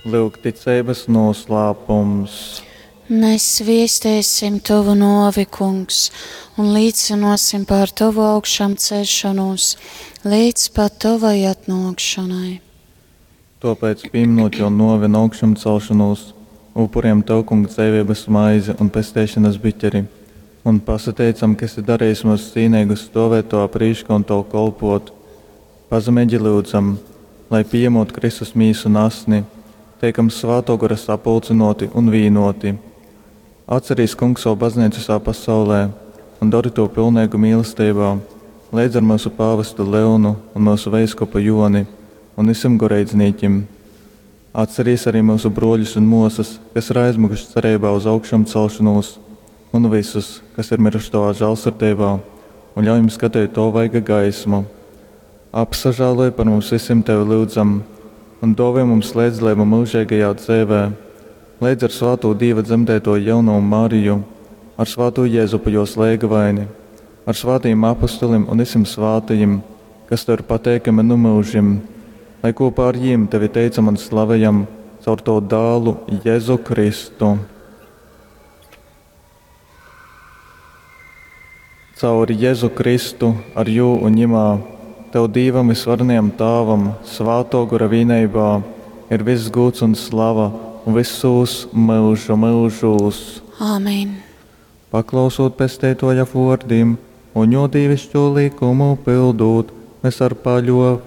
Lyugticeibas nūslāpums. Mēs viestēsim Tovu nōvi, Kungs, un līcynōsim par Tovu augšām ceļšanos līdz pat Tovai atnōkšanai. Tōpēc, pīmynūt Jō nōvi un augšamcelšonūs, upurejam Tev, Kungs, dzeiveibas maizi un pesteišonas biķeri un pasateicam, ka esi darejis myus cīneigus stōvēt Tovā prīškā un Tev kolpōt. Pazemeigi lyudzam, lai, pījamūt Kristus Mīsu un Asni, teikam Svātō Gora sapulcynōti un vīnōti. Atcerīs, Kungs, sovu Bazneicu vysā pasaulē un dori tū pilneigu mīlesteibā, leidz ar myusu pāvestu Leonu un myusu veiskupu Jōni un vysim goreidznīkim. Atcerīs ari myusu brōļus un mōsas, kas ir aizmyguši cereibā uz augšamcelšonūs, un vysus, kas ir myruši Tovā žālsirdeibā, un ļauj jim skateit Tova vaiga gaismu. Apsažāloj par mums vysim, Tevi lyudzam, un dōvoj mums leidzdaleibu myužeigajā dzeivē, leidz ar svātū Dīva dzemdeitōju jaunovu Mariju, ar svātū Jezupu jōs leigavaini, ar svātajim apostolim un vysim svātajim, kas Tev ir pateikami nu myužim, lai kopā ar jim Tevi teicam un slavejam caur Tavu dālu Jezu Kristu. Caur Jezu Kristu, ar jū un Jimā, Tev Dīvam Vysvarenajam Tāvam, Svātō Gora vīneibā, ir viss gūds un slava vysūs myužu myužūs. Āmen. Paklausūt Pesteitōja vōrdim un Jō dīviškū lykumu pyldūt, mes ar paļōveibu.